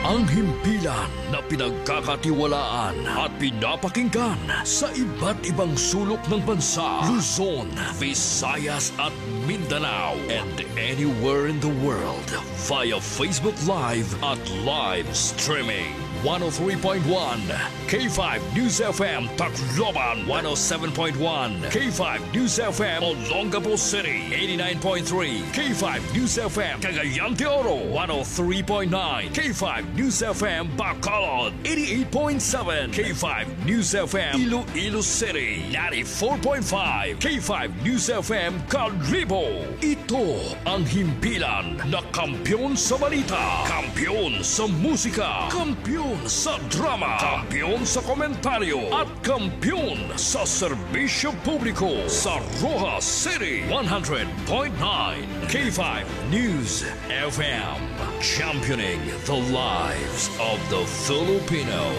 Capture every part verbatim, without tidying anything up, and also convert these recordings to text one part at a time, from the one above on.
Ang himpilan na pinagkakatiwalaan at pinapakinggan sa iba't ibang sulok ng bansa, Luzon, Visayas at Mindanao, and anywhere in the world via Facebook Live at live streaming. One oh three point one K five News F M Tacloban, one oh seven point one K five News F M Olongapo City, eighty-nine point three K five News F M Cagayan de Oro, one oh three point nine K five News F M Bacolod, eighty-eight point seven K five News F M Iloilo City, ninety-four point five K five News F M Kalibo. Ito ang himpilan na kampiyon sa balita, kampiyon sa musika, kampiyon sa drama, kampiyon sa komentaryo, at kampiyon sa serbisyo publiko sa Roxas City, one hundred point nine K five News F M, championing the lives of the Filipino.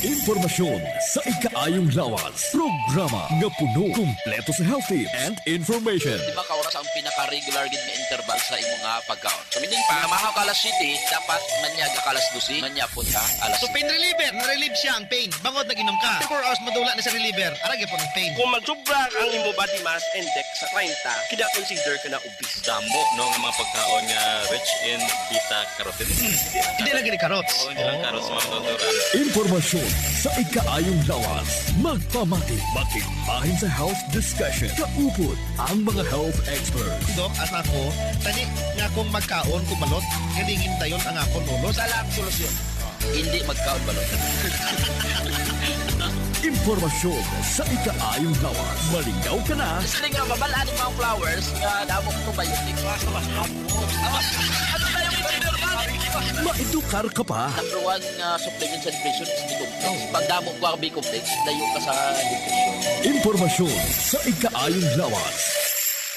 Impormasyon sa ikaayong lawas. Programa nga puno, kumpleto sa health tips and information. Di ba ka oras ang pinaka-regular gid nga interval sa imo nga pagkaon? So, meaning pa, namahaw ka alas siyete, dapat manyag ka alas dose, manyapon ka alas So, pain reliever, na-relieve siya ang pain. Bangod nag-inom ka. After four hours, madula na sa reliever. Ara gyapon ang pain. Kung magsubra ang imo body mass index sa treinta, kina-consider ka na obese. Damo, no, nga mga pagkaon nga rich in beta carotene. Hindi lang gini carrots. Oo, hindi lang carrots, mga natural. Impormasyon sa ikaayong lawas. Magpamati, makigbahin sa health discussion. Kaupod ang mga health experts. Dok, as ako, tani nga akong magkaon, kumalot, galingin dayon ang akon ulo. Sa lang solusyon. Hindi magkaon balot. Impormasyon sa ikaayong lawas. Malingaw ka na. Gusto nga mabal-an ang mga flowers nga damo probiotics. Ano tayo, Maedukar ka pa. Number one nga supplement sa depression is B-complex. Pag damo ko ang B-complex, layo ka sa depression. Impormasyon sa ikaayong lawas.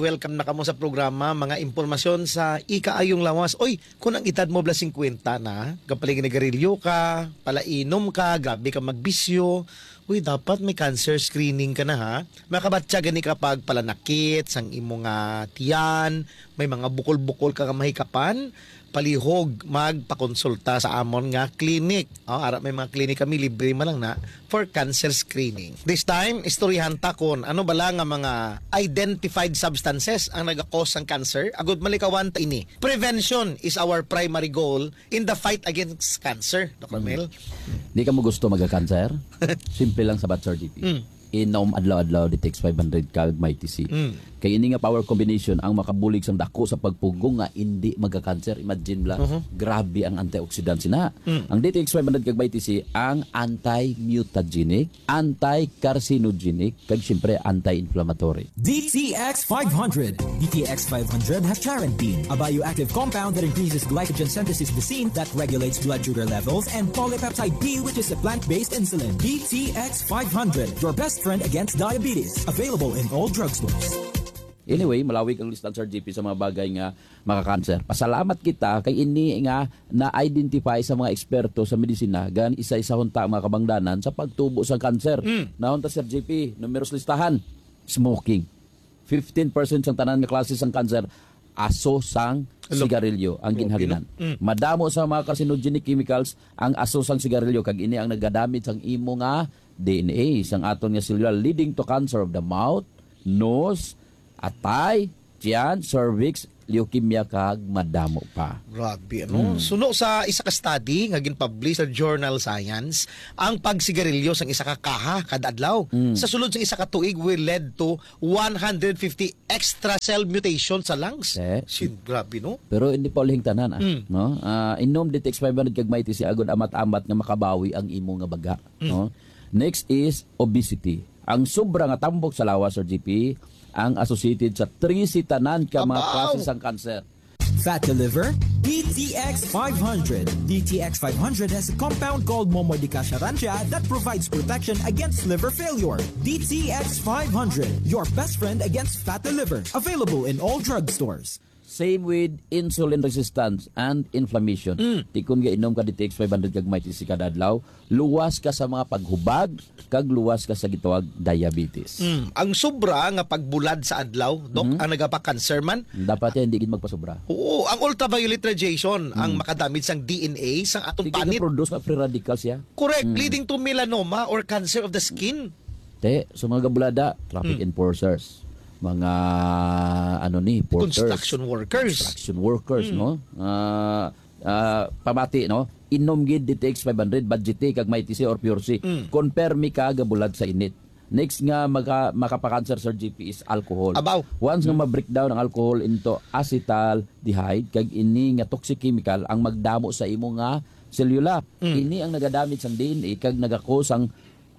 Welcome na kamo sa programa, mga impormasyon sa ikaayong lawas. Oy, kung ang edad mo bala singkwenta na, kapalaginigarilyo ka, palainom ka, grabe ka magbisyo, uy, dapat may cancer screening ka na, ha. Makabatya gani ka pag palanakit sang imo nga tiyan, may mga bukol-bukol ka nga mahikapan, palihog magpakonsulta sa amon nga clinic. Oh, ara, may mga clinic kami, libre man lang na, for cancer screening. This time, istoryahan ta kon ano bala nga mga identified substances ang naga-cause sang cancer. Agud malikawan ta ini. Prevention is our primary goal in the fight against cancer, Doc Ramil. Di ka mo gusto magka-cancer? Simple lang sa Sir G P. Mm. Inom adlaw-adlaw D T X five hundred kag Mighty C. Mm. Kay ini nga power combination ang makabulig sang dako sa pagpugong nga indi magka-cancer. Imagine bala, Mhm. grabe ang antioxidant sina. Mm. Ang D T X five hundred kag Mighty C ang anti-mutagenic, anti-carcinogenic, kag siyempre anti-inflammatory. D T X five hundred. D T X five hundred has charantine, a bioactive compound that increases glycogen synthesis lysine that regulates blood sugar levels, and polypeptide B, which is a plant-based insulin. D T X five hundred, your best friend against diabetes. Available in all drugstores. Anyway, malawig ang lista, Sir G P, sa mga bagay nga makakanser. Pasalamat kita kay ini nga na-identify sa mga eksperto sa medisina, gan isa-isahon ta ang mga kabangdanan sa pagtubo sa kanser. Mm. Nahon ta, Sir G P, numeros listahan, smoking. Fifteen percent sang tanan nga klase sang kanser, aso sang Hello. sigarilyo ang Hello, ginhalinan. Pino? Mm. Madamo sa mga carcinogenic chemicals ang aso sang sigarilyo, kag ini ang nagadamit sang imo nga D N A, sang aton nga selula, leading to cancer of the mouth, nose, atay, tiyan, cervix, leukemia, kag madamo pa. Grabe, ano? Mm. Suno sa isa ka study nga ginpublish sa journal Science, ang pagsigarilyo sang isa ka kaha kada adlaw Mm. sa sulod sang isa ka tuig will lead to one hundred fifty extra cell mutation sa lungs. Eh. Sin, grabe, no? Pero hindi pa ulihing tanan, ah, Mm. no? Ah, inom D T X five hundred kag Mighty C agud amat-amat nga makabawi ang imo nga baga, Mm. no? Next is obesity. Ang sobra nga tambok sa lawas, Sir G P, ang associated sa trese tanan ka mga Abaw! klase sang cancer. Fat to liver? D T X five hundred. D T X five hundred has a compound called Momordica charantia that provides protection against liver failure. D T X five hundred, your best friend against fat to liver. Available in all drugstores. Same with insulin resistance and inflammation. Mm. Ti kon gainom ka D T X five hundred kag Mighty C kada adlaw, luwas ka sa mga paghubag, kag luwas ka sa gitawag diabetes. Mm. Ang sobra nga pagbulad sa adlaw, Doc, Mhm. ang nagapa-cancer man. Dapat yan, hindi gid magpasobra. Oo, ang ultraviolet radiation ang Mm. makadamage sang D N A sang atong Sige, panit. Produce nga free radicals siya. Correct, Mm. leading to melanoma or cancer of the skin. Te, so mga gabulada, traffic Mm. enforcers, mga, ano ni, porters, Construction workers. construction workers, Mm. no? Ah, ah, pamati, no? Inom gid D T X five hundred, Budget Tea, kag Mighty C or Pure C. Mm. Kon permi ka gabulad sa init. Next nga maka-, makapakanser, Sir G P, is alcohol. Abaw. Once nga Mm. ma-breakdown ang alcohol into acetaldehyde, kag ini nga toxic chemical ang magdamo sa imo nga selula. Mm. Ini ang nagadamage sang D N A kag nagakos ang,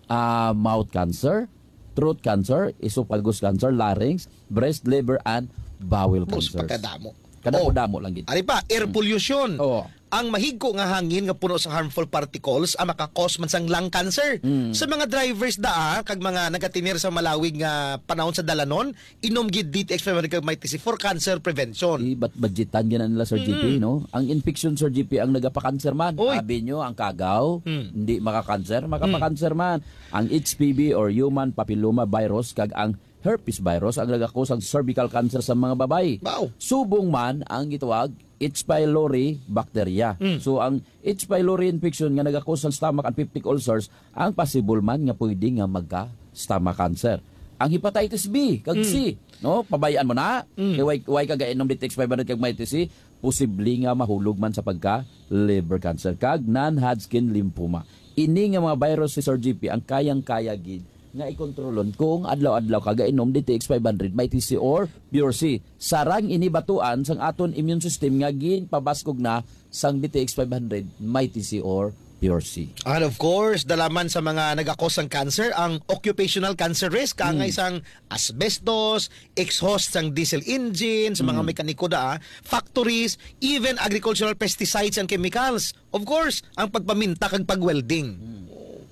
ah, mouth cancer, throat cancer, esophagus cancer, larynx, breast, liver, and bowel Bus, cancer. Pagkadamo. Kadamo-damo lang gid. Ari pa, air Mm. pollution. Oo. Ang mahigko nga hangin nga puno sa harmful particles ang makakos man sang lung cancer. Mm. Sa mga drivers da, ah, kag mga nagatinir sa malawig nga panahon sa dalanon, inom gid D T X five hundred kag Mighty C for cancer prevention. Di bat-, budgetan gina nila, Sir G P, Mm. no? Ang infection, Sir G P, ang nagapakanser man. Oy. Abi nyo, ang kagaw, Mm. hindi makakanser, Mm. makapakanser man. Ang H P V or human papilloma virus kag ang herpes virus ang nagakos ang cervical cancer sa mga babayi. Wow. Subong man ang gitawag H. pylori bacteria. Mm. So, ang H. pylori infection nga nagakos sang stomach and peptic ulcers ang possible man nga pwede nga magka-stomach cancer. Ang hepatitis B kag Mm. C, no? Pabayaan mo na. Mm. Kay why, why ka gainom D T X five hundred kag Mighty C? Posible nga mahulog man sa pagka liver cancer kag non-Hodgkin lymphoma. Ini nga mga virus, si Sir G P, ang kayang-kaya gid nga ikontrolon kung adlaw-adlaw ka gainom D T X five hundred, Mighty C or Pure C. Sarang ini batuan sang aton immune system nga ginpabaskog na sang D T X five hundred, Mighty C or Pure C. And of course, dalaman sa mga nagakos sang cancer, ang occupational cancer risk, kaangay Mm. sang asbestos, exhaust sang diesel engine, sa mga Mm. mekaniko da, ah, factories, even agricultural pesticides and chemicals. Of course, ang pagpaminta kag pag-welding. Mm.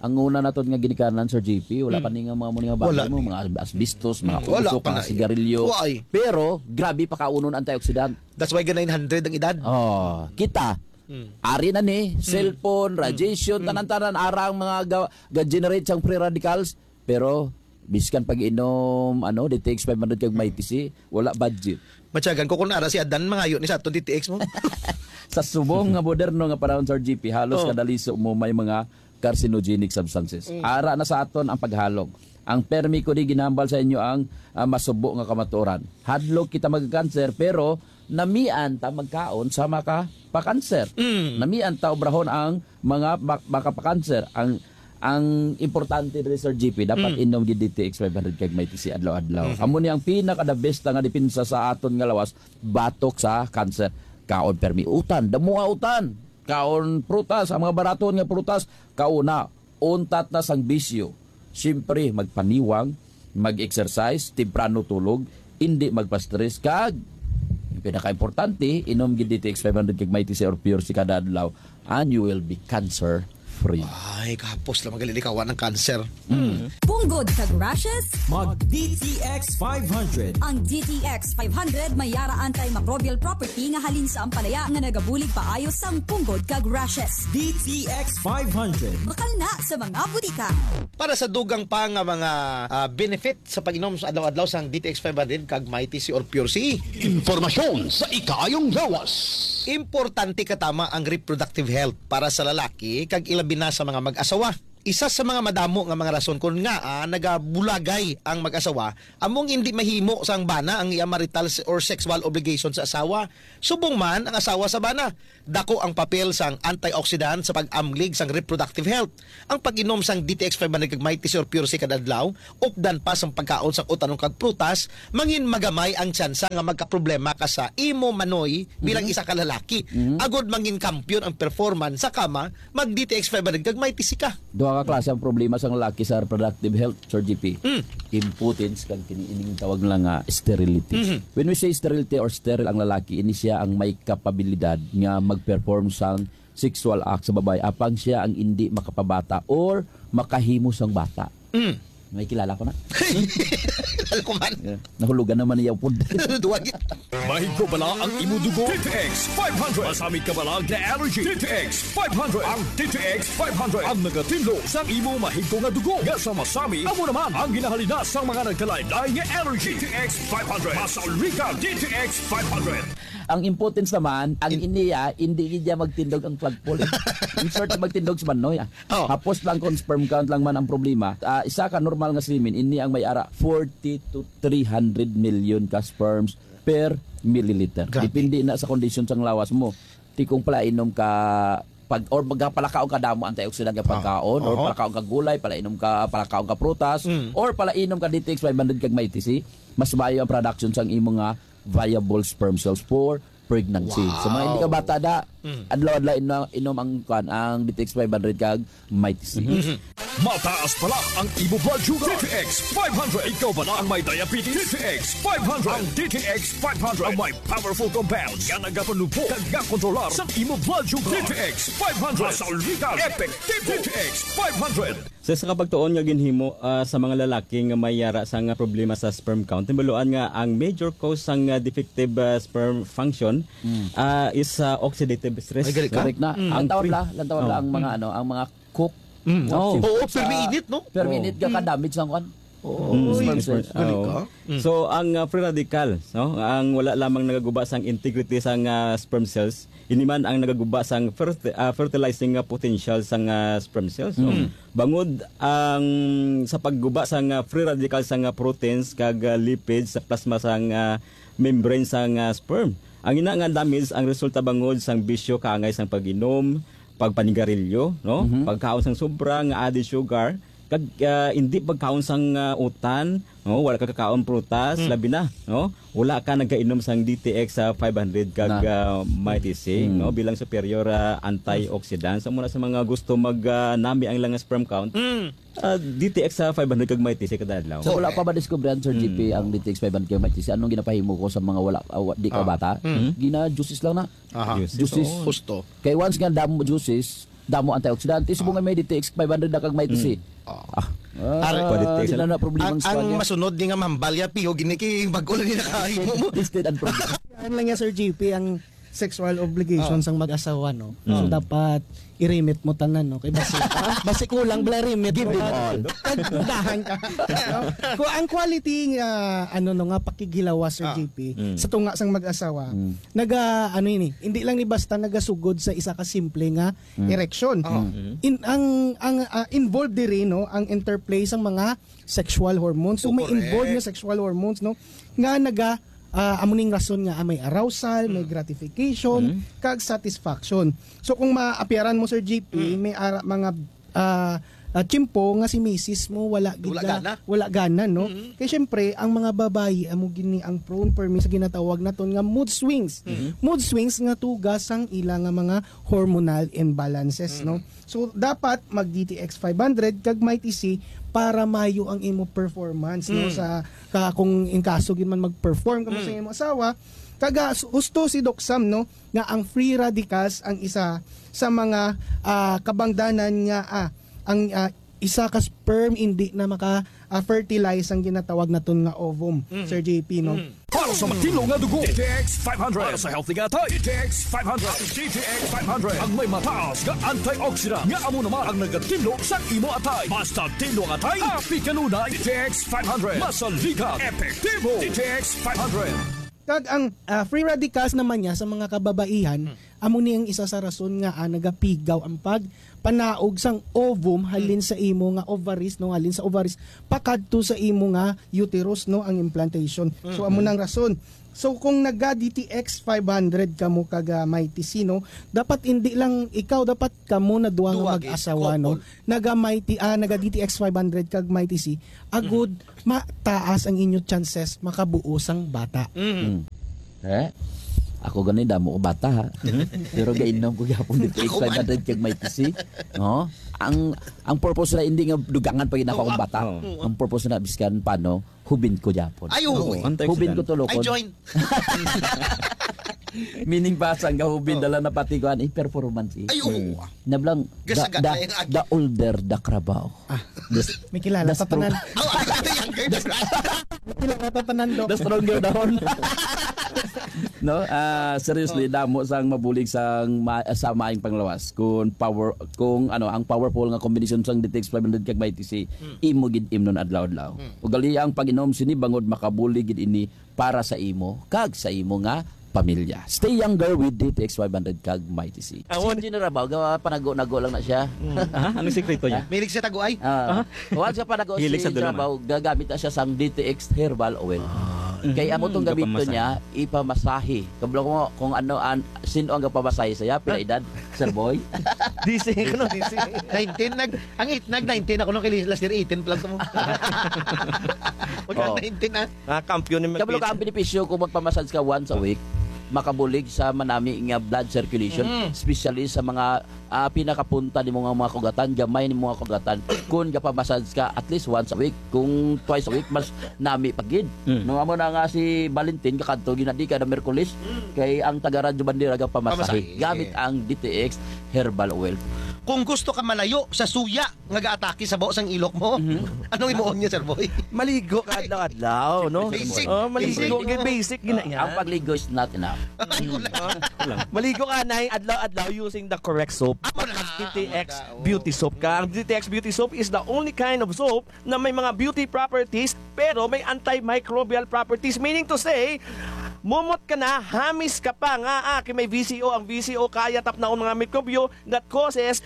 Ang una naton nga ginikanan, Sir G P, wala Mm. pa ni nga mga, mga Wala bagay mo, ni. mga asbestos, mga Mm, wala uso, pa mga na. sigarilyo. Why? Pero, grabe pa kaunon antioxidant. That's why ga nine hundred ang edad. Oh, kita. Mm. Ari na ni, Mm. cellphone, Mm. radiation, Mm. tanan-tanan, ara ang mga ga-, ga-generate sang free radicals. Pero, biskan pag-inom, ano, D T X five hundred kag Mighty C, wala budget. Matyagan ko kung ara si Adan, mangayo ni sa aton D T X mo. Sa subong nga moderno nga panahon, Sir G P, halos Oh. kada liso mo may mga carcinogenic substances. Mm. Ara na sa aton ang paghalog. Ang permi ko di ginambal sa inyo ang, ah, masubo nga kamatuoran. Hadlok kita magkanser, pero namian ta magkaon sa makapakanser. Mm. Namian ta obrahon ang mga mak-, makapakanser. Ang, ang importante diri, Sir G P, dapat Mm. inom gid D T X five hundred kag Mighty C adlaw-adlaw. Mhm. Amo ni ang pinaka-the best nga depensa sa aton nga lawas batok sa kanser. Kaon permi utan, damo nga utan. Kaon prutas, ang mga baraton nga prutas, kauna, untat na sang bisyo. Siyempre, magpaniwang, mag-exercise, temprano tulog, hindi magpa-stress, kag ang pinaka-importante, inom gid D T X five hundred kag Mighty C or Pure C kada adlaw, and you will be cancer-free. Ay, kahapos lang magalilikawan ang cancer. Mm. Punggod kag rashes? Mag D T X five hundred. Ang D T X five hundred may yara antimicrobial property nga halin sa ampalaya nga nagabulig paayo sang punggod kag rashes. D T X five hundred. Bakal na sa mga butika. Para sa dugang pa nga mga, ah, benefit sa pag-inom sa adlaw-adlaw sang D T X five hundred kag Mighty C or Pure C. Impormasyon sa ikaayong lawas. Importante katama ang reproductive health para sa lalaki kag ilabi na sa mga mag-asawa. Isa sa mga madamo nga mga rason kon ngaa nagabulagay ang mag-asawa amo ang indi mahimo sang bana ang iya marital se-, or sexual obligation sa asawa. Subong man ang asawa sa bana, dako ang papel sang antioxidant sa pag-amlig sang reproductive health. Ang pag-inom sang D T X five hundred kag Mighty C or Pure C kada adlaw, updan pa sang pagkaon sang utanon kag prutas, mangin magamay ang tsansa nga magkaproblema ka sa imo manoy bilang Mhm. isa ka lalaki. Mhm. Agod mangin kampiyon ang performance sa kama, mag D T X five hundred kag Mighty C ka. Duha ka klase ang problema sang lalaki sa reproductive health, Sir G P. Mm. Impotence kag kini ining tawag nila nga sterility. Mhm. When we say sterility or sterile ang lalaki, ini siya ang may kapabilidad nga mag-perform sang sexual act sa babae apang siya ang indi makapabata or makahimo sang bata. Mm. May kilala ko na. Kilala ko man. Yeah. Nahulugan naman niya upod. Duwag. Mahigko bala ang imo dugo? D T X five hundred. Masamit ka bala nga allergy? D T X five hundred. Ang D T X five hundred ang nagatinlo sa imo mahigko nga dugo nga sa masamit. Amo naman ang ginahalina sa mga nagkalain-lain nga allergy. D T X five hundred. Masaligan. D T X five hundred. Ang impotence naman, ang In- iniya, hindi gid niya magtindog ang flagpole. In short, magtindog si Manoy, ah. Oh. Hapos lang kung sperm count lang man ang problema. Ah, isa ka normal nga semen, ini ang may ara forty to three hundred million ka sperms per milliliter. Grabe. Depende na sa kondisyon sang lawas mo. Ti kung palainom ka pag, or magpalakaon ka damo antioxidant nga Ah. pagkaon, or Oho. palakaon ka gulay, palainom ka, palakaon ka prutas, Mm. or palainom ka D T X five hundred kag Mighty C, mas maayo ang production sang imo nga viable sperm cells for pregnancy. Sa mga hindi ka Wow. bata da, Mm. adlaw-adlaw inom, inom ang, kuwan, ang D T X five hundred kag Mighty C. Mhm. Mataas pala ang imo blood sugar. D T X five hundred. Ikaw bala ang may diabetes? D T X five hundred. Ang D T X five hundred ang may powerful compounds nga nagapanubog kag nagakontrolar sa imo blood sugar. D T X five hundred. Masaligan. Epektibo. D T X five hundred. Sa isa ka pagtuon nga ginhimo, ah, sa mga lalaki nga may yara sang problema sa sperm count, tinuod nga ang major cause sang, ah, defective, ah, sperm function, Mm. ah, is, ah, oxidative stress. Ay, gali ka. Correct na. Mm. Ang Lantaw pre- bla, lantaw bla Oh. ang mga, Mm. ano, ang mga cook. Mm. Oh. Oo, permi init, no? Permi init Oh. ka, ka-damage sang kwan. Oo. Mm, Uy, sperm sperm cells. Gali Oh. ka. Mm. So, ang, ah, free radicals, no? Ang wala lamang nagaguba sang integrity sang, ah, sperm cells, ini man ang nagaguba sang ferti-, ah, fertilizing nga potential sang, ah, sperm cells, no? Mm. Bangod ang sa pagguba sang, ah, free radicals sang, ah, proteins kag, ah, lipids sa plasma sang, ah, membrane sang, ah, sperm. Ang ina nga damage ang resulta bangod sang bisyo kaangay sang pag-inom, pagpanigarilyo, no? Mhm. Pagkaon sang sobra nga added sugar, kag, ah, hindi pagkaon sang, ah, utan, no? Wala ka kakaon prutas, Mm. labi na, no? Wala ka nagkainom sang D T X sa five hundred kag, Na. ah, Mighty C, Mm. no? Bilang superior, ah, antioxidant. Sa muna sa mga gusto mag, ah, nami ang ilang sperm count, Mm. ah, D T X sa five hundred kag Mighty C kada adlaw. So, wala pa ba diskubrihan, Sir Mm. G P, ang D T X five hundred kag Mighty C? Anong ginapahimo ko sa mga wala, ah, wa-, di ka Ah. bata? Mm. Gina-juices lang na. Aha. Juices. Juices. Oo. Husto. Kay once nga damo juices, damo antioxidant. Subong Ah. nga may D T X five hundred na kag may Mm. T C. Ah. Ah. Pare, Pwede Ah, tayo di sa na na problema ang ang squad niya. masunod ni nga mahambal ya, piho, gini kay bag-o lang ni nakahimo mo. Tested and proven. Yan lang ya, Sir G P, ang sexual obligation Ah. sang mag-asawa, no? Mm. So, dapat i-remit mo tanan, no? Kay basi, basi kulang bala remit Give mo. them all. Kag dahan ka. No? Kung ang quality nga, ano, no, nga pakighilawas, Sir Ah. G P, Mm. sa tunga sang mag-asawa, Mm. naga, ano ini, hindi lang ni basta nagasugod sa isa ka simple nga Mm. erection. Oh. Mm. In, ang, ang, ah, involved diri, no, ang interplay sang mga sexual hormones. So, Oh, may involved correct. nga sexual hormones, no, nga naga, ah, amo ning rason nga, ah, may arousal, may Mm. gratification, Mm. kag satisfaction. So, kung maapyaran mo, Sir G P, Mm. may ara, mga, ah, ah, tiyempo nga si misis mo wala gid Wala na, gana. wala gana, no? Mm. Kay syempre, ang mga babayi amo gini ang prone permi sa ginatawag naton nga mood swings. Mm. Mood swings nga tuga sang ila nga mga hormonal imbalances, Mm. no? So, dapat mag D T X five hundred kag Mighty C para mayo ang imo performance, no? Mm. Sa, ka, kung in kaso gid man mag-perform kamo Mm. sa imo asawa, kaga, husto si Doc Sam, no? Nga ang free radicals ang isa sa mga, ah, kabangdanan nga, ah, ang, ah, isa ka sperm hindi na maka, ah, fertilize ang ginatawag naton nga ovum, Mm. Sir J P, no? Mm. Para sa matinlo nga dugo, D T X five hundred. Para sa healthy nga atay, D T X five hundred. Ang D T X five hundred ang may mataas nga antioxidant nga amo naman ang nagatinlo sa imo atay. Basta tinlo ang atay, happy kanunay. D T X five hundred. Masaligan, epektibo. D T X five hundred. Kag ang, ah, free radicals naman niya sa mga kababaihan, Hmm. amo ni ang isa sa rason nga, ah, nagapigaw ang pagpanaog sang ovum halin Hmm. sa imo nga ovaries, no, halin sa ovaries pakadto sa imo nga uterus, no, ang implantation. So, Hmm. amo nang rason. So, kung naga D T X five hundred kamo kag, ah, Mighty C, no, dapat hindi lang ikaw, dapat kamo na duha nga Duha, mag-asawa, no? Couple. Naga Mighty, ah, naga D T X five hundred kag Mighty C, agud Mm. mataas ang inyo chances makabuo sang bata. Mm. Mm. Eh? Ako gani, damo ko bata, ha? Mm. Pero gainom ko gyapon D T X Ako man. five hundred kag Mighty C. No? Ang, ang purpose na hindi nga dugangan pa gid ako Oo, akong bata. Oo. Ang purpose na biskan pa, no? Hubin ko gyapon. Ay, oo. Oo. Antioxidant. Hubin ko tulokon. I join. Meaning ba, sang gahubin, Oh. dala na pati kuan, eh, performance, eh. Ay, oo. Hmm. Nablang, the, Gasagat the, na yung agi. the older the Carabao. Ah. The s-, May kilala the ta strong-, tanan. Oh, ano yan? May kilala ta tanan, Doc. The stronger the horn. No? Ah, seriously, Oh. damo sang mabulig sang ma-, sa maayong panglawas. Kung power, kung ano, ang powerful nga combination sang D T X five hundred kag Mighty C, Hmm. imo gid imnon adlaw-adlaw. Hmm. Ugali ang pag-inom sini bangod makabulig gid ini para sa imo kag sa imo nga pamilya. Stay younger with D T X five hundred kag Mighty C. Awan. Si Engineer Rabaw, gawa panago-nago lang na siya. Mm. Ah, anong sikreto niya? Mahilig siya taguay. Ah, Aha. Once ka panago Hilig si sa Engineer dulungan. Rabaw, gagamit na siya sang D T X herbal oil. Ah. Kay amo tong Mm, gamiton gapamasahe. niya, ipamasahe. Kablo ko kung ano, an-, sino ang gapamasahe sa iya, pila Ah. edad, Sir Boy? D C, ano, D C? Nineteen, nag-, ang it-, nag-nineteen ako nung kay last year, eighteen pa lang to mo. Magka Oh. nineteen, ah. Ah, kampiyon ni Kabalo ka, Mapit. ang benepisyo kung magpamassage ka once a week, makabulig sa manami nga blood circulation, Mm. especially sa mga, ah, pinakapunta nimo nga mga kugatan, gamay nimo nga kugatan. Kung gapamassage ka at least once a week, kung twice a week, mas nami pa gid. Mm. No, amo na nga si Valentin, kakadto, ginadi kada Miyerkules, Mm. kay ang taga Radyo Bandera gapamasahe Pamasahe. gamit ang D T X Herbal Oil. Kung gusto ka malayo sa suya, nga gaatake sa baho sang ilok mo. Mhm. Anong imuon niya, Sir Boy? Maligo ka adlaw-adlaw, no? Basic. Oh, maligo. Basic. Basic, gid na yan. Ang pagligo is not enough. Ay, wala. Ah, wala. Maligo ka na adlaw-adlaw using the correct soap. Amo na. D T X Amo na, oh. Beauty Soap ka. Ang D T X Beauty Soap is the only kind of soap na may mga beauty properties, pero may antimicrobial properties. Meaning to say, mumot ka na, hamis ka pa nga, ah, kay may V C O. Ang V C O kaya tapnaon mga mikrobyo that causes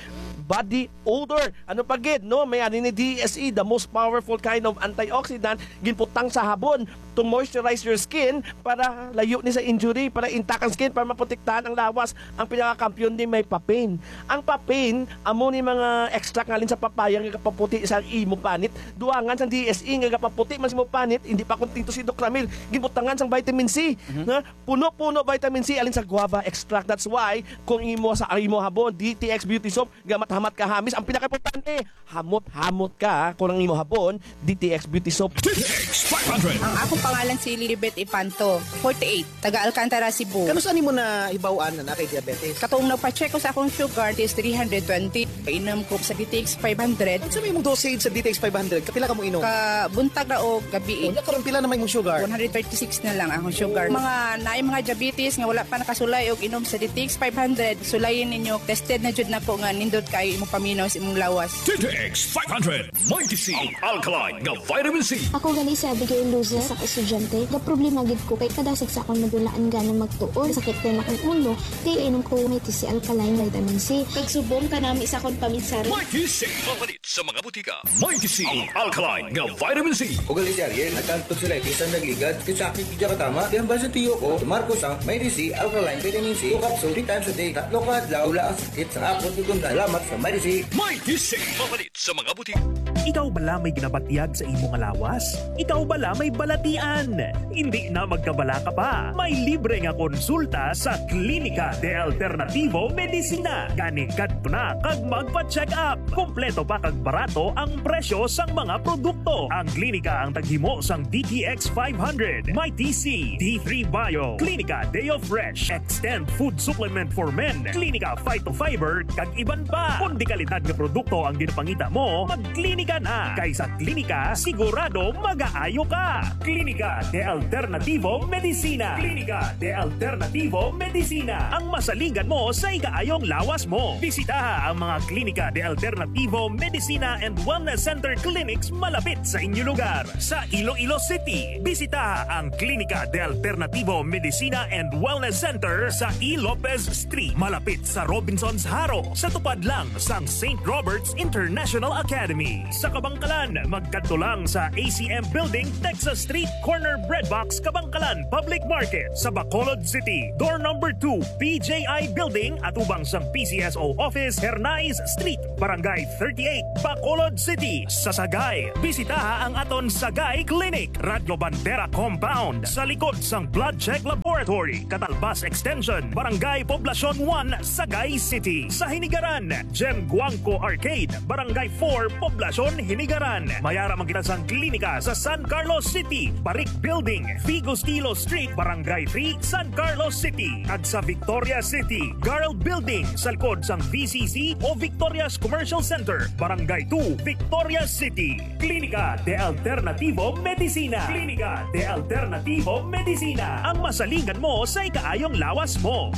body odor. Ano pa gid, no? May ani ni D S E, the most powerful kind of antioxidant, ginputang sa habon to moisturize your skin para layo ni sa injury, para intact ang skin, para maprotektahan ang lawas. Ang pinakakampiyon ni may papain. Ang papain, amo ni mga extract ngalin sa papaya nga gapaputi sa imo panit. Duangan sang D S E nga gapaputi man sa imo panit, hindi pa kontento si Doc Ramil. Ginbutangan sang vitamin C, Mhm. na puno-puno vitamin C alin sa guava extract. That's why kung imo sa imo habon, D T X Beauty Soap, gamat-hamat ka hamis. Ang pinakaimportante, hamot-hamot ka kung ang imo habon, D T X Beauty Soap. D T X five hundred. Ang akong pangalan si Lilibet Ipanto, forty-eight, taga Alcantara, Cebu. Kanus-a nimo nahibaw-an na naa kay diabetes? Katong nagpa-check ko sa akong sugar, it is three hundred twenty. Painom ko sa D T X five hundred. Unsa may imong dosage sa D T X five hundred? Kapila ka mo inom? Ka buntag ra o gabi. Unya karon, pila na may imong sugar? One hundred thirty-six na lang ang sugar. Oh. Mga naay mga diabetes nga wala pa nakasulay og inom sa D T X five hundred, sulayin ninyo. Tested na jud nako nga nindot kaayo imong paminaw sa imong lawas. D T X five hundred, Mighty C, ang alkaline nga vitamin C. Ako gali si Abigail Luzes, sa estudyante. Gaproblema gid ko kay kadasig sa akong madulaan gana magtuon. Sakit kay akong ulo, kay inom ko Mighty C alkaline vitamin C. Kag subong kanami sa akong paminsari. Mighty C. Mapalit sa mga butika. Mighty C, ang alkaline nga vitamin C. Ugali si Ariel, nagkantog sila, bisan nagligad, kay sakit gid katama. Kaya ba sa tiyo ko, Marcos ang Mighty C alkaline vitamin C, two capsule, three times a day, tatlo ka adlaw, wala ang sakit sa akong tugtong. Salamat sa Mighty C. Mighty C, mapalit sa mga butika. Ikaw bala may ginabatyag sa imo nga lawas? Ikaw bala may balatian? Hindi na magkabalaka pa. May libre nga konsulta sa Klinika de Alternativo Medicina. Gani kadto na kag magpa-check up. Kompleto pa kag barato ang presyo sang mga produkto. Ang klinika ang taghimo sang D T X five hundred, Mighty C, D three Bio, Klinika Deo Fresh, Extend Food Supplement for Men, Klinika Phytofiber, kag iban pa. Kon dekalidad nga produkto ang ginapangita mo, magklinika na. Kay sa klinika, sigurado magaayo ka. Klinika de Alternativo Medicina. Klinika de Alternativo Medicina. Ang masaligan mo sa ikaayong lawas mo. Bisitaha ang mga Klinika de Alternativo Medicina and Wellness Center clinics malapit sa inyo lugar. Sa Iloilo City, bisitaha ang Klinika de Alternativo Medicina and Wellness Center sa E. Lopez Street, malapit sa Robinsons Jaro, sa tupad lang sang Saint Robert's International Academy. Sa Kabangkalan, magkadto lang sa A C M Building, Texas Street, corner Bread Box, Kabangkalan Public Market. Sa Bacolod City, door number two, P J I Building, atubang sang P C S O Office, Hernais Street, Barangay thirty-eight, Bacolod City, sa Sagay. Bisitaha ang aton Sagay Clinic, Radyo Bandera Compound, sa likod sang Blood Check Laboratory, Katalbas Extension, Barangay Poblacion one, Sagay City. Sa Hinigaran, Gem Guangco Arcade, Barangay four, Poblacion, Hinigaran. Mayara man kita sang klinika sa San Carlos City, Barik Building, Figo Stilo Street, Barangay three, San Carlos City, kag sa Victoria City, Girl Building, sa likod sang V C C o Victoria's Commercial Center, Barangay two, Victoria City. Klinika de Alternativo Medicina. Klinika de Alternativo Medicina. Ang masalingan mo sa ikaayong lawas mo.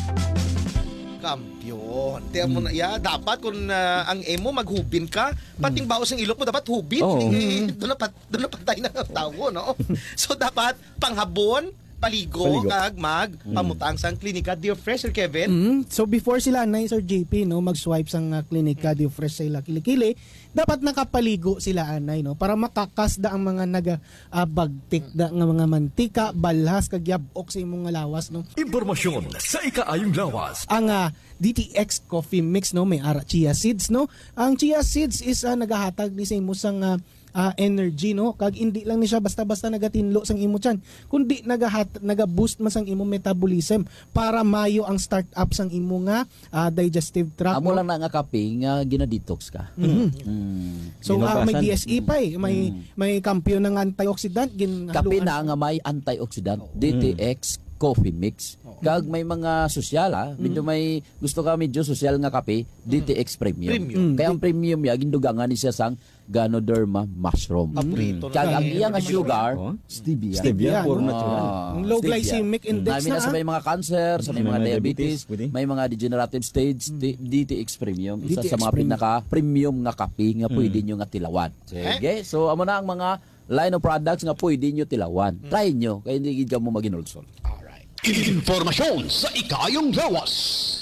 Kampiyon. Tiyan mo na, ya, dapat kung, ah, ang emo maghubin ka, pating baos ang ilok mo, dapat hubin. Oo. Eh, doon na pat-, doon na patay na ang tawo, no? So, dapat panghabon, paligo, Paligo. kag mag Mm. pamutang sang klinika. Dear Fresh, Sir Kevin. Mm. So, before sila, anay, Sir J P, no, mag-swipe sang, ah, klinika, Dear Fresh, sa ila kilikili, dapat nakapaligo sila, anay, no, para makakas da ang mga naga, ah, bagtik da nga mga mantika, balhas, kag yabok sa imong nga lawas, no. Impormasyon sa ikaayong lawas. Ang, ah, D T X Coffee Mix, no, may ara chia seeds, no. Ang chia seeds is, ah, nagahatag ni sa imo sang, ah, ah, energy, no, kag hindi lang ni siya basta-basta nagatinlo sang imo tiyan, kundi nagahat-, naga-boost man sang imo metabolism para mayo ang start up sang imo nga, ah, digestive tract, Amo no? lang na nga kape nga ginadetox ka. Mhm. Mm. So, ah, may Binugasan. D S E pa eh. May, Mm. may kampiyon ng antioxidant. Gin-, Kape haluan. na nga may antioxidant. Oo. D T X Coffee Mix. Oo. Kag may mga sosyal, ah. Medyo Mm. may gusto ka medyo sosyal nga kape, Mm. D T X Premium. Premium. Mm. Kaya ang premium niya, gindugangan ni siya sang Ganoderma mushroom. Paborito na Kag ang niya. iya nga sugar, Oh? stevia. Stevia, Yan. puro natural. Ah, Ang low stevia. glycemic index Nami na na, sa ah. may mga cancer, sa may May mga mga diabetes, diabetes, pwede. may mga degenerative stage, Mm. ti-, D T X Premium, isa D T X sa mga Premium. pinaka-premium nga kape nga Mm. pwede nyo nga tilawan. Sige, so amo na ang mga line of products nga pwede nyo tilawan. Mm. Try nyo, kaya hindi gid kamo maginulsol. Alright. Impormasyon sa ikaayong lawas.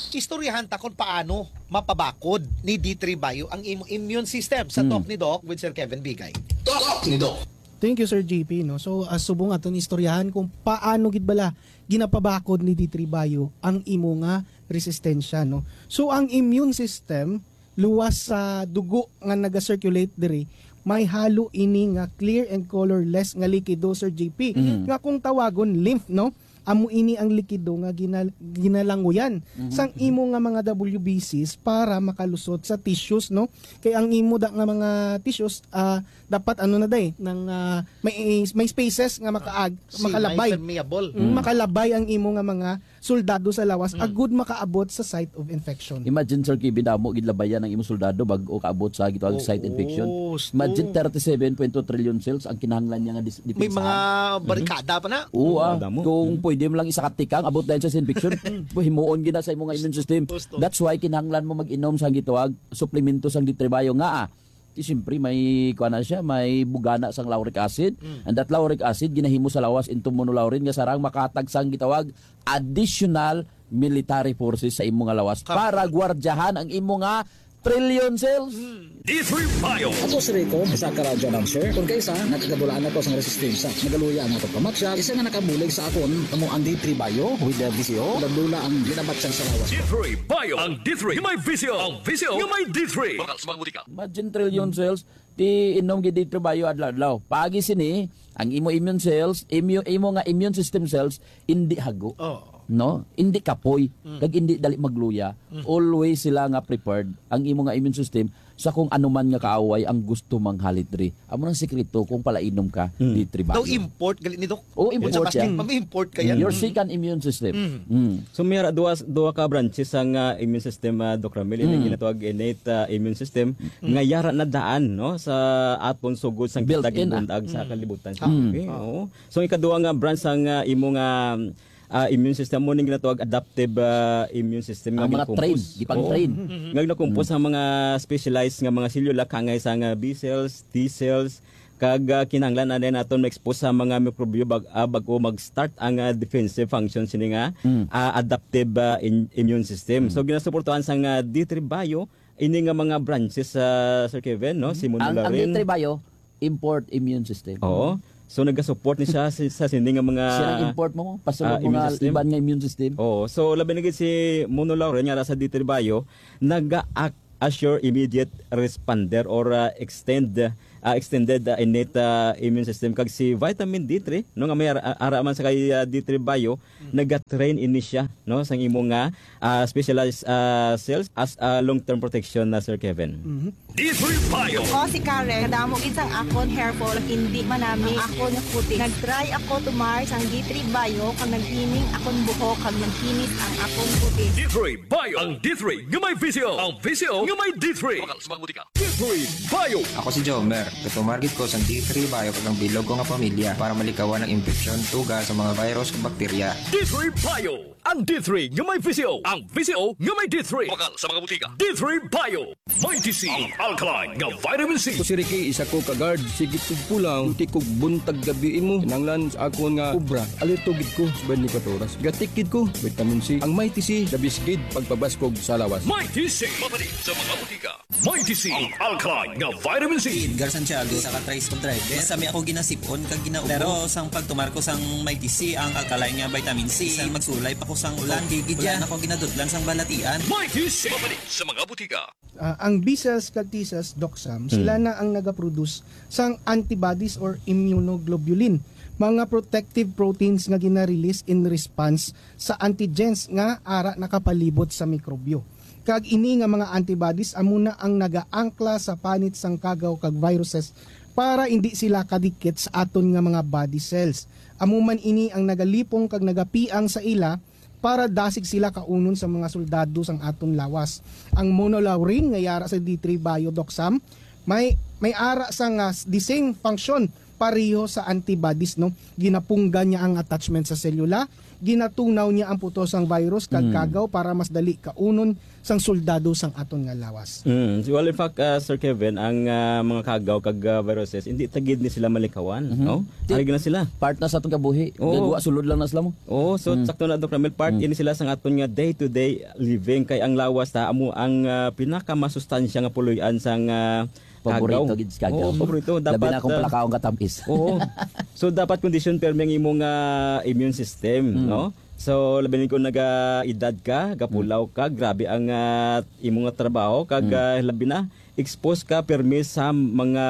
Istoryahan ta kung paano mapabakod ni D three Bio ang imo immune system sa Hmm. Talk ni Doc with Sir Kevin Bigay. Talk ni Doc. Thank you, Sir J P, no? So, ah, subong aton istoryahan kung paano gid bala ginapabakod ni D three Bio ang imo nga resistensya, no? So, ang immune system, luwas sa dugo nga naga-circulate diri, may halo ini nga clear and colorless nga likido, Sir J P, Mhm. nga kung tawagon lymph, no? Amo ini ang likido nga ginal-, ginalanguyan Mhm. sang imo nga mga W B Cs para makalusot sa tissues, no? Kay ang imo da nga mga tissues, ah, dapat ano na day, nang, ah, may, may spaces nga makaag-, Sila makalabay. Permeable. Mm, Mm. makalabay ang imo nga mga soldado sa lawas, Mm. agud makaabot sa site of infection. Imagine, Sir Kevin, damo gid labayan ang imong soldado bag-o kaabot sa gitawag Oo, site infection. sto. Imagine, thirty-seven point two trillion cells ang kinahanglan niya nga dis-, May depensahan. mga Mhm. barikada pa na. Oo, ah. Damo. Kung Mhm. pwede mo lang isa ka tikang, abot dahil sa infection, himuon gina sa imong immune system. Gusto. That's why kinahanglan mo mag-inom sa gitawag suplemento sang D three Bio nga, ah, Di siyempre, may, kuha na siya, may bugana sang lauric acid. Mm. And that lauric acid, ginahimo sa lawas into monolaurin nga sarang makatag sang gitawag additional military forces sa imo nga lawas Ka- para gwardiyahan ang imo nga trillion cells. Mm. D three Bio. Ako si Rico, isa ka radyo announcer. Kung kaisa, nakagadulaan ako sang resistensya. Nagaluya ang akong pamatsya. Isa nga nakabulig sa akon, amo ang D three Bio with the V C O. Dula-dula ang ginabatsyan sa lawas. D three Bio. Ang D three nga may V C O. Ang V C O nga may D three. Bakal sa mga butika. Imagine trillion cells, ti inom gid D three Bio adlaw-adlaw. Paagi sini, ang imo immune cells, imo, imo nga immune system cells, indi hago. Oo. No? Indi kapoy, Mm. kag indi dali magluya. Mm. Always sila nga prepared ang imo nga immune system sa kung ano man nga kaaway ang gusto manghalit diri. Amo nang sikreto kung palainom ka, Mm. D three Bio. Daw import, gali ni, Doc? Oo, import Sa plastic siya. pa, may import kaya. Your Mm. second immune system. Mm. Mm. So, may ra-, duha, duha ka branches sang, ah, immune system, ah, Doc Ramil, Mm. yung ginatawag innate, ah, immune system, Mm. nga yara na daan, no, sa aton sugod sang Built kita in, ah. ginbuntag sa Mm. kalibutan sa Mm. kape. Oo. So, ang ikaduha nga branch sang, ah, imo nga, ah, immune system mo ning ginatawag adaptive, ah, immune system nga Ang mga ginakompose. train, gipang-train. Oo. Mm. Nga ginakompose Mm. ang mga specialized nga mga selula, kangay sa nga B cells, T cells, kag, ah, kinahanglan na din naton ma-expose sa mga mikrobyo bag-, ah, bag-o mag-start ang, ah, defensive function sini nga, Mm. ah, adaptive, ah, in-, immune system. Mm. So, ginasuportahan sa nga D three Bio, ini nga mga branches, ah, Sir Kevin, no? Mm. Si Ang, ang Monolaurin. D three Bio, import immune system. Oo. So, nagasupport ni siya sa, sa sini nga mga, Siya ang import mo, pasulod ah, mo immune nga system. iban nga immune system. Oo. So, labi na gid si Monolaurin nga ara sa D three Bio, naga-act assure immediate responder or, ah, extend, ah, extended, ah, innate, ah, immune system. Kag si vitamin D three, no, nga may ara, ara man sa kay, ah, D three Bio, nagatrain ini siya, no, sang imo nga, ah, specialized, ah, cells as, ah, long-term protection na, Sir Kevin. Mhm. D three Bio. Ako si Karen, kadamo gid sang akon hair fall, hindi manami ang akon puti. Nag-try ako tumar sang D three Bio, kag naghining akon buhok, kag nagkinis ang akon puti. D three Bio. Ang D three nga may visyo. Ang visyo nga may D three. Bakal sa mga butika. D three Bio. Ako si Jomer. Gatumar gid ko sang D three Bio kag ang bilog ko nga pamilya para malikawan ang impeksyon, tuga sa mga virus ug bakterya. D three Bio. Ang D three nga may visyo. Ang visyo nga may D three. Bakal sa mga butika. D three Bio. Mighty C, ang alkaline nga vitamin C. Ako si Ricky, isa ko ka guard. Sige tugpo lang, duty kog buntag gabi imo. Kinahanglan sa akon nga obra, alerto gid ko sa twenty-four oras. Gatik gid ko, vitamin C. Ang Mighty C, the best gid pagpabaskog sa lawas. Mighty C, mapalit sa mga butika. Mighty C, ang alkaline nga vitamin C. Edgar Santiago, isa ka tricycle driver. Sa mi ako ginasipon kag ginaubos. Pero sang pagtumar ko sang Mighty C, ang alkaline nga vitamin C, bisan magsulay pa ko sang ulan, okay gid wala na ko ginadutlan sang balatian. Mighty C, mapalit sa mga butika. Ah, ang B cells kag T cells, Doc Sam, Hmm. sila na ang nagaproduce sang antibodies or immunoglobulin, mga protective proteins nga gina-release in response sa antigens nga ara nakapalibot sa mikrobyo. Kag ini nga mga antibodies amo na ang nagaangkla sa panit sang kagaw kag viruses para indi sila kadikit sa aton nga mga body cells. Amo man ini ang nagalipong kag nagapiang sa ila para dasig sila kaunon sa mga soldado sang aton lawas. Ang monolaurin nga yara sa D three Bio, Doc Sam, may, may ara sa nga s-, the same function pareho sa antibodies, no? Ginapunggan niya ang attachment sa selula, ginatunaw niya ang putos sang virus kag Mm. kagaw para mas dali kaunon sang soldado sang aton nga lawas. Mm. So, well, in fact, uh, Sir Kevin, ang, uh, mga kagaw kag, uh, viruses, hindi ta gid ni sila malikawan, Mhm. no? Ti-, Ari na sila. Part na sa atong kabuhi. Oo. Gagawa, sulod lang na sila mo. Oo, so, Mm. sakto na, Doc Ramil, part Mm. ini sila sang aton nga day-to-day living. Kay ang lawas ta, amo ang, uh, pinakamasustansya nga puloy-an sang, uh, Paborito kagaw. Gid sa kagaw. Oo, paborito. Labi Dapat, na kung uh, palakaon ka tamis. Oo. So, dapat kondisyon permi ang imong, uh, immune system, Mm. no? So, labi na kung naga-edad ka, gapulaw Mm. ka, grabe ang, ah, imo nga trabaho, kag, Mm. ah, labi na, expose ka pirmi sa mga,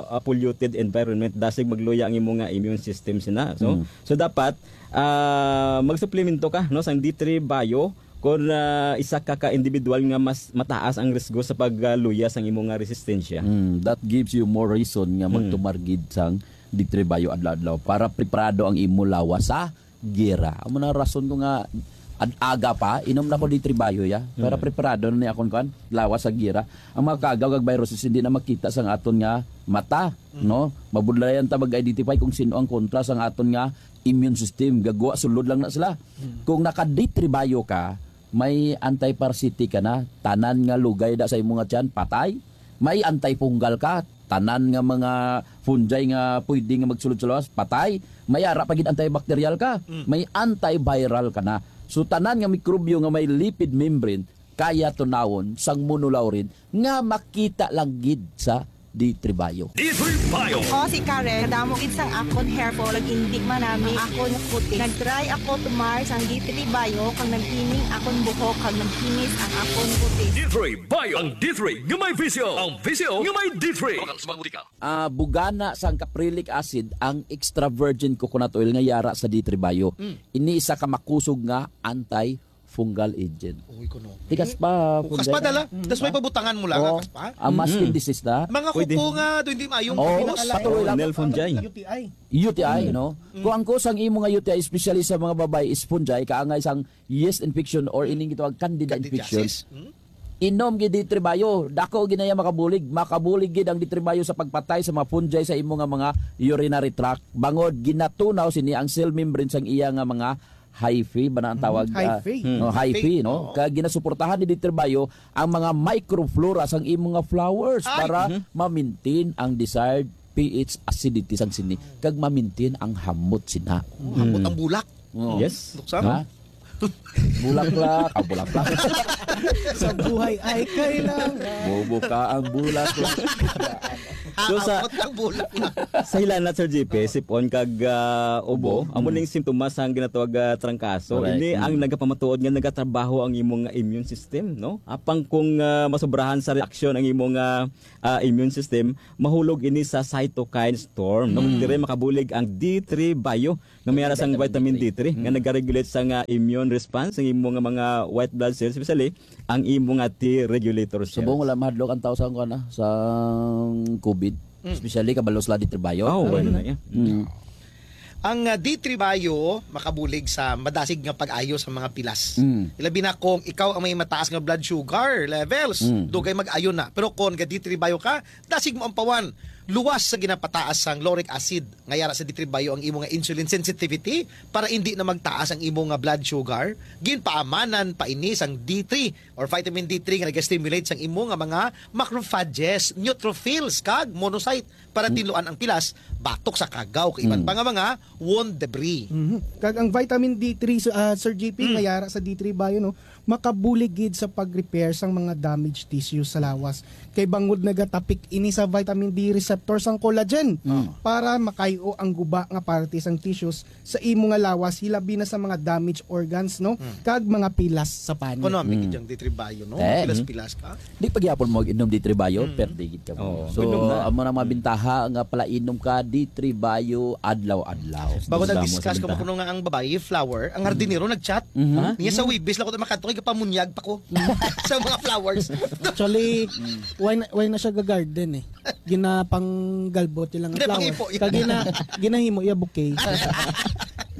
ah, polluted environment, dasig magluya ang imo nga immune system sina. So, Mm. so dapat, ah, magsuplemento ka, no, sang D three Bio kung, ah, isa ka ka individual nga mas mataas ang risgo sa pagluya sang imo nga resistensya. Mm, that gives you more reason nga Mm. magtumar gid sang D three Bio adlaw-adlaw para preparado ang imo lawas sa gera. Amo na rason ko nga ad-, aga pa, inom na ko D three Bio, ya. Para Mm. preparado na ni akon, kuan, lawas sa gera. Ang mga kagaw kag viruses hindi na makita sang aton nga mata, Mm. no? Mabudlayan ta mag-identify kung sino ang kontra sang aton nga immune system. Gagwa, sulod lang na sila. Mm. Kung naka D three Bio ka, may antiparasitic ka na, tanan nga lugay da sa imo nga tiyan, patay. May antifungal ka, tanan nga mga fungi nga pwede nga magsulod sa lawas, patay. May ara pa gid antibacterial ka, Mm. may antiviral ka na. So, tanan nga mikrobyo nga may lipid membrane, kaya tunawon sang monolaurin nga makita lang gid sa D three Bio. D three Bio. Ako si Karen, kadamo gid sang akon hair fall, ag indi manami ang akon puti. Nag-try ako tumar sang D three Bio, kag naghining akon buhok, kag nagkinis ang akon puti. D three Bio, ang D three nga may visyo. Ang visyo nga may D three. Lokal sa mga butika. Ah, bugana sang caprylic acid ang extra virgin coconut oil nga yara sa D three Bio. Mm. Ini isa ka makusog nga antifungal agent. Uy, kuno. Tikas pa, Ukas pa, Punday. Dala. Mm. Tas may pabutangan mo lang, Oo. Kas pa? Ang masking Mm. disease na. Mga Pwede. Kuko nga, do, hindi mayong Oh, patuloy lang. Nakalay. Nail fungi. U T I. U T I, Mm. no? Mm. Kung ang kusang imo nga U T I, especially sa mga babae, is fungi, kaangay sang yeast infection or ining gitawag candida infection. Candidiasis. Mm. Inom gid D three Bio, dako gid na iya makabulig, makabulig gid ang D three Bio sa pagpatay sa mga fungi sa imo nga mga urinary tract. Bangod ginatunaw sini ang cell membrane sang iya nga mga hyphae ba na ang Mm, tawag, ah, hyphae. Mm. no, hyphae, Hyphae, no? oo. Kaya ginasuportahan ni D three Bio ang mga microflora sang imo nga flowers Ay! para Mhm. ma-maintain ang desired P H acidity sang sini kag ma-maintain ang hamot sina. Oh, hamot Mm. ang bulak. Oo. Yes. Doktor? Ha? Bulaklak, ah, bulaklak. Sa buhay ay kailangan. Bubuka ang bulaklak. So, sa, Aabot ang bulak na. Sa hilanat, Sir J P, sipon kag, ah, ubo, Ubo. amo Mm. ning sintomas ang ginatawag, ah, trangkaso. Correct. Ini ang Mm. nagapamatuod nga nagatrabaho ang imong immune system, no? Apang kung, ah, masobrahan sa reaksyon ang imong, ah, ah, immune system, mahulog ini sa cytokine storm, no? Mm. Dire makabulig ang D three Bio nga may ara sang Vitamin vitamin D three, nga Mm. nagaregulate sa nga immune response sa imo nga mga white blood cells, especially ang imo nga T regulator cells. Subong wala mahadlok ang tao sa, kuwan na, sa covid. Mm. Especially kabalo sila D three Bio. Oh, well, Mm. na, yeah. Mm. Ang, ah, D three Bio makabulig sa madasig nga pag-ayo sa mga pilas. Mm. Ilabi na kung ikaw ang may mataas nga blood sugar levels, Mm. dugay mag-ayo na. Pero kung ga D three Bio ka, dasig mo ang pawan. Luwas sa ginapataas sang lauric acid nga yara sa D three Bio ang imo nga insulin sensitivity para indi na magtaas ang imo nga blood sugar. Ginpaamanan pa ini sang D three or vitamin D three nga naga-stimulate sang imo nga mga macrophages, neutrophils, kag monocyte para Hmm. tinluan ang pilas batok sa kagaw kag iban Hmm. pa nga mga wound debris. Mhm. Kag ang vitamin D three, so, ah, Sir J P, Hmm. nga yara sa D three Bio, no, makabulig gid sa pag-repair sang mga damaged tissues sa lawas. Kay bangod nagatapik ini sa vitamin D receptor sang collagen Hmm. para makayo ang guba nga parte sang tissues sa imo nga lawas, hilabi na sa mga damaged organs, no? Hmm. Kag mga pilas sa panit. Kuno, may Hmm. gid yang D three Bio, no? Eh. Pilas-pilas ka. Di pa gyapon mo inom D three Bio, Hmm. perde gid ka mo. Oo. So, Inom na. amo na mga Hmm. bintaha nga palainom ka D three Bio adlaw-adlaw. Bago Gusto mo nag-discuss sa ko, bintaha? Kuno nga ang babayi, flower, ang Hmm. hardinero nag-chat. Mhm. Ha? Niya sa Hmm. Webes lang ko makadto kay gapamunyag pa ko sa mga flowers. Actually, Hmm. why na, why na siya ga-garden eh? Ginapanggalbot ilang Hindi, flower. Pangipo, yun. Kag gina-, ginahimo iya bouquet.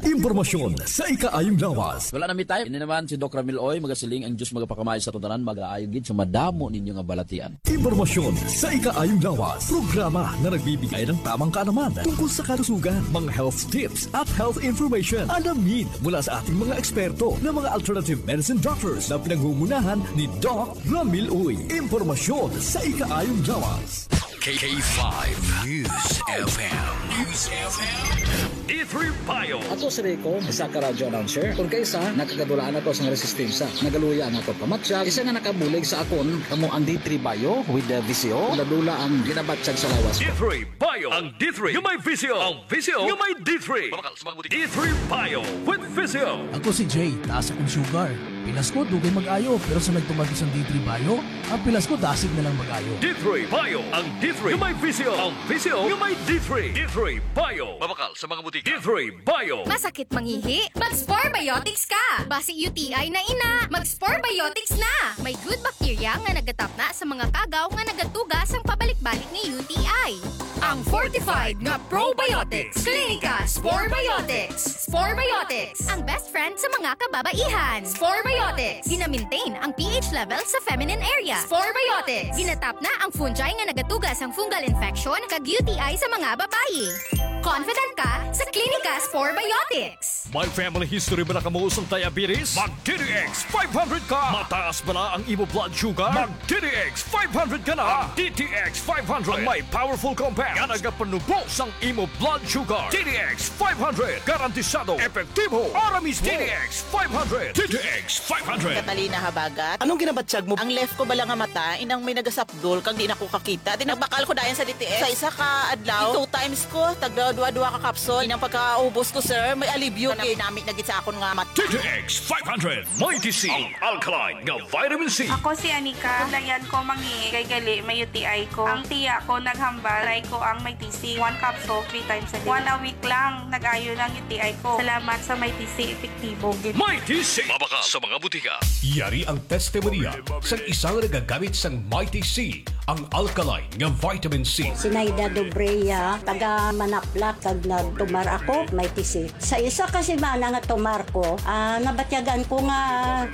Impormasyon sa ikaayong lawas. Wala na mi time. Ini naman si Doc Ramil Oy, magasiling ang Diyos magapakamay sa tanan, magaayo gid sa madamo ninyo nga balatian. Impormasyon sa ikaayong lawas. Programa na nagbibigay ng tamang kaalaman tungkol sa kalusugan, mga health tips at health information. Alamin mula sa ating mga eksperto na mga alternative medicine doctors na pinangungunahan ni Doc Ramil Uy. Impormasyon sa ikaayong lawas. K K five News F M. News F M. D three Bio. Ako si Rico, isa ka radio announcer. Kung kaisa, nakagadulaan ako sa resistensya. Nagaluya ang akon pamatyag. Isa nga nakabulig sa akon, kamo ang D three Bio with the V C O. Dula-dula ang ginabatyag sa lawas. D three Bio. Ang D three nga may V C O. Ang V C O nga may D three. Mabakal sa mga butika. D three Bio with V C O. Ako si Jay, taas akong sugar. Pilas ko, dugay mag-ayo, pero sa nagtuman ko sang D three Bio, ang pilas ko dasig na lang mag-ayo. D three Bio, ang D three nga may V C O, ang V C O nga may D three. D three Bio. Mabakal sa mga butika. D three Bio. Masakit mangihi? Mag-Spore Biotics ka! Basi U T I na ina, mag-Spore Biotics na! May good bacteria nga nagatapna sa mga kagaw nga nagatuga sang pabalik-balik nga U T I. Ang fortified nga probiotics, Clinica Spore Biotics. Spore Biotics, ang best friend sa mga kababaihan. Spore Biotics, gina-maintain ang P H level sa feminine area. Spore Biotics, ginatapna ang fungi nga nagatuga sang fungal infection kag U T I sa mga babayi. Confident ka sa Clinica Spore Biotics. May family history ba na kamo sang diabetes? Mag D T X five hundred ka! Mataas ba na ang imo blood sugar? Mag D T X five hundred ka na! Ang D T X five hundred ang may powerful compound nga nagapanubo sang imo blood sugar. D T X five hundred, garantisado, epektibo, ara mismo. D T X five hundred. D T X five hundred. Catalina Habagat, anong ginabatyag mo? Ang left ko bala nga mata, inang may nagasap Dol, kag di na ko kakita. Di nagbakal ko dayon sa D T X. Sa isa ka adlaw, two times ko, tagda duha-duha ka capsule. Inang pagkaubos ko, sir, may alibyo. Nami-nami na gid sa akon nga mat-, D T X five hundred, Mighty C, ang alkaline nga vitamin C. Ako si Anika. Layan ko mangi kay gali may U T I ko. Ang tiya ko naghambal, try ko ang Mighty C. One capsule, three times a day. One a week lang, nag-ayo na ang U T I ko. Salamat sa Mighty C, epektibo gid. Mighty C. Mabakal sa mga butika. Yari ang testimonya sang isa nga nagagamit sang Mighty C, ang alkaline nga vitamin C. Sinaida Dobrea, taga Manaplak, kag nagtumar ako, Mighty C. Sa isa ka semana nga tumar ko, ah, nabatyagan ko nga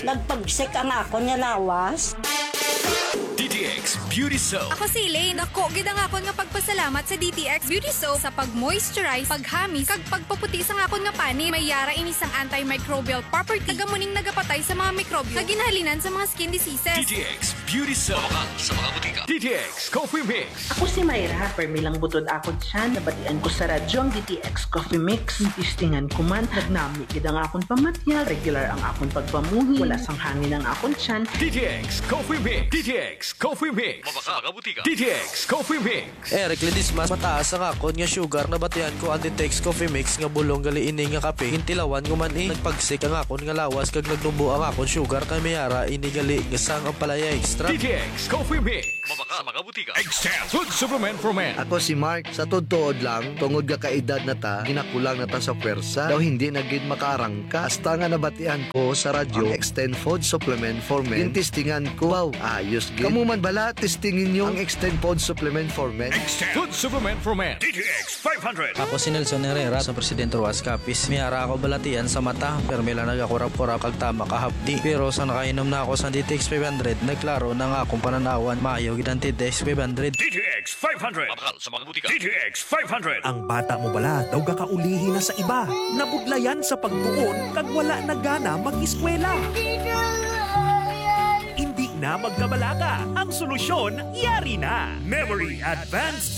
nagpagsik ang akon nga lawas. D T X Beauty Soap. Ako si Elaine. Dako gid ang akon nga pagpasalamat sa D T X Beauty Soap sa pag-moisturize, paghamis, kag pagpaputi sang akon nga panit. May yara ini sang antimicrobial property, kag amo ning nagapatay sa mga mikrobyo nga ginahalinan sa mga skin diseases. D T X Beauty Soap. Mabakal sa mga butika. D T X Coffee Mix. Ako si Myra, permi lang butod akon tiyan. Nabatian ko sa radyo ang D T X Coffee Mix. Testingan ko man, nagnami gid ang akon pamatyag, regular ang akon pagpamuhi, wala sang hangin ang akon tiyan. D T X Coffee Mix. D T X Coffee Mix. Mabakal sa mga butika. D T X Coffee Mix. Eric Ledesma, mataas ang akon nga sugar, nabatian ko ang D T X Coffee Mix nga bulong gali ini nga kape. Gintilawan ko man, eh, nagpagsik ang akon nga lawas kag nagtumbo ang akon sugar, kay may ara ini gali nga sang ampalaya extract. D T X Coffee Mix. Mabakal sa mga butika. Extend Food Supplement for Men. Ako si Mark. Sa tuod-tuod lang, tungod nga kaedad na ta, ginakulang na ta sa pwersa. Daw hindi na gid makaarangka. Hasta nga nabatian ko sa radyo ang Extend Food Supplement for Men, gintistingan ko. Wow, ayos gid. Kamo man bala, testingin nyo ang Extend Food Supplement for Men. Extend Food Supplement for Men. D T X five hundred. Ako si Nelson Herrera, sa Presidente Rojas Capiz. May ara ako balatian sa mata, pero may lang nagakurap-kurap kag tama kahapdi. Pero sa nakainom na ako sa D T X five hundred, nagklaro na nga akong pananawan. Maayo gid ang D T X five hundred. D T X five hundred. Mabakal sa mga butika. D T X five hundred. Ang bata mo bala daw gakaulihi na sa iba, nabudlayan sa pagtuon kag wala na gana mag-eskwela? Hindi na magkabalaka. Ang solusyon, yari na. Memory Advanced